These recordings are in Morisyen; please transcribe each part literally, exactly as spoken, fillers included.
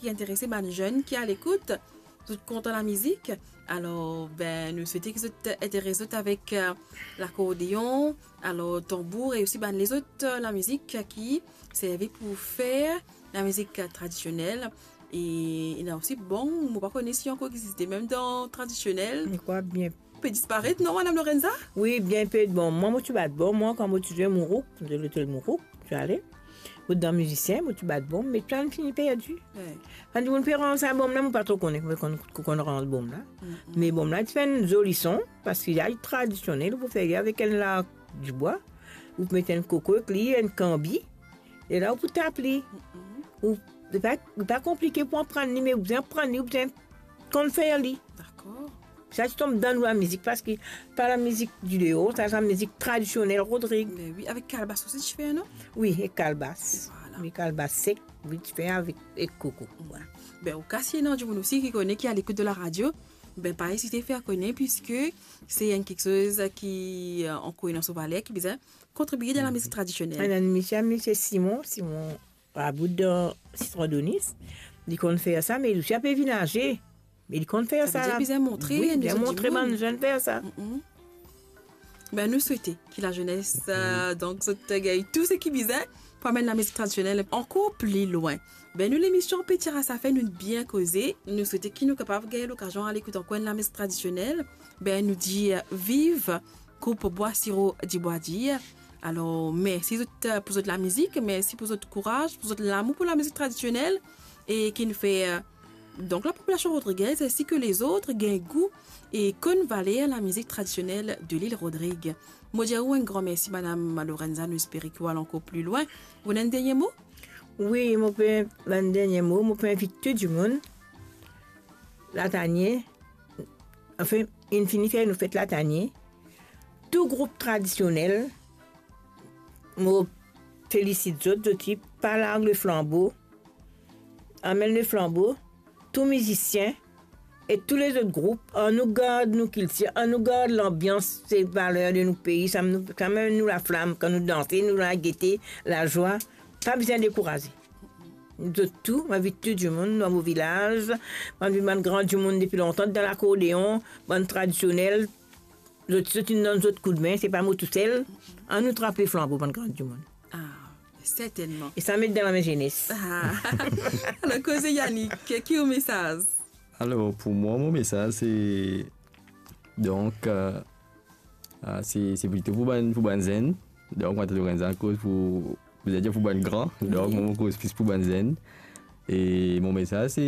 ki interese bann zenn ki alekout, zot kontan lamizik. Alor, be, nou swete ki zot interes zot avek, eh, lakordeon, alor tanbour e osi bann lezot, eh, lamizik ki servi pou fer lamizik, eh, tradisionel. E ena osi, bon, mo pa kone si ankor existe mem dan tradisionel. Mo krwar bien pe disparet, non, Madam Lorenza? Wi, bien pe. Bon, mwa, mo ti bat bonm, mwa, kan mo ti zwe mourouk, de lotel mourouk, ti ale. Mo dan mizisien, mo ti bat bonm, me tou finn perdi. Wi. Kan dimoun pe rans sa bonm la, mo pa tro kone, mo konn, konn rans bonm la. Mm, mm. Me bonm la, ti fer enn zoli son, paski li tradisionel, ou pou fer li avek enn larg dibwa, ou pou met enn koko ek li, enn kanbi, e la ou pou tap li. Mm, mm. Ou, li pa, li pa konplike pou aprann li, me ou bizin aprann li, ou bizin konn fer li. Dakor. Sa ti tom dan nou lamizik, paski pa lamizik dideor, sa, sa mizik tradisionel Rodrig. Me wi, avek kalbas osi ti fer, non? Wi, ek kalbas. Vwala. Wi, kalbas sek, wi, ti fer avek, ek koko. Vwala. Be, oka si ena dimoun osi ki kone, ki alekout de la radio, be, pa ezite fer kone, piski se enn kiksoz ki, eh, ankor ena so valer, ki bizin kontribie dan lamizik tradisionel. Enn misie, misie Simon, Simon Raboud dan Sitron Donis, li konn fer sa, me li osi ape vinn aze. Me li konn fer sa. Sa vedir bizin montre, wi, nou bizin montre bann zenn fer sa. Mm, mm. Be, nou swete ki lazenes, eh, donk, zot gagn tou seki bizin pou amenn lamizik tradisionel ankor pli lwin. Be, nou, lemision Pe Tira Sa Fer, nou bien koze. Nou swete ki nou kapav gagn lokazion al ekout ankor enn lamizik tradisionel. Be, nou dir, eh, viv group Bwa Siro Dibwa Dir. Alor, mersi zot, eh, pou zot lamizik, mersi pou zot kouraz, pou zot lamour pou lamizik tradisionel, e ki nou fer, eh, donk, lapopilasion rodrigez, ainsi que les autres, gagn gou e konn valer lamizik tradisionel de lil Rodrig. Mo dir ou enn gran mersi, Madam Lorenza, nou espere ki ou al ankor pli lwin. Ou ena enn dernie mo? Wi, mo pe, bann dernie mo, mo pe invit tou dimoun, Latanie, anfin, inn fini fer nou fet Latanie, tou group tradisionel, mo felisit zot, zot ti pa larg leflanbo, amenn leflanbo, tou mizisien e tou lezot group, annou gard nou kiltir, annou gard lanbians, se valer de nou pei, sa nou, samem nou laflam, kan nou danse, nou lagete, lazwa, pa bizin dekouraze. Zot tou, mo invit tou dimoun dan mo vilaz, bann, bann gran dimoun depi lontan, dan lakordeon, bann tradisionel, zot, zot inn donn zot koudme, se pa mo tousel. Annou trap leflanbo, bann gran dimoun. Ah, sertennman. E sa met dan lame zenes. Ah. Alor, koze Yannick, ki ou mesaz? Alor, pou mwa, mo mesaz, se, donk, eh, Ah, se, se plito pou bann, pou bann zenn. Donk, mo tann Lorenza koz pou, pou dir pou bann gran. Donk, wi, mwa, mo koz plis pou bann zenn. E mo mesaz, se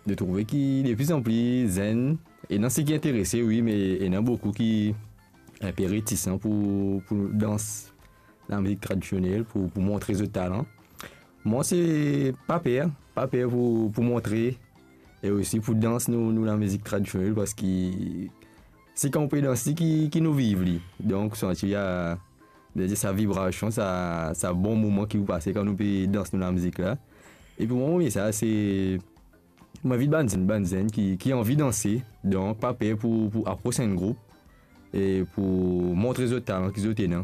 de trouve ki de pli an pli zenn, ena seki interese, wi, me ena boukou ki inpe retisan pou, pou dans lamizik tradisionel, pou, pou montre zot talan. Mwa, se pa per, pa per pou, pou montre e osi pou dans nou, nou lamizik tradisionel, paski se kan ou pe dans li ki, ki nou viv li. Donk, ou santi, ah, sa vibrasion, sa, sa bon moman ki ou pase kan nou pe dans nou lamizik la. E pou mwa, mo mesaz, se, mo invit bann zenn, bann zenn ki, ki anvi danse, donk pa per pou, pou apros enn group e pou montre zot talan ki zot ena.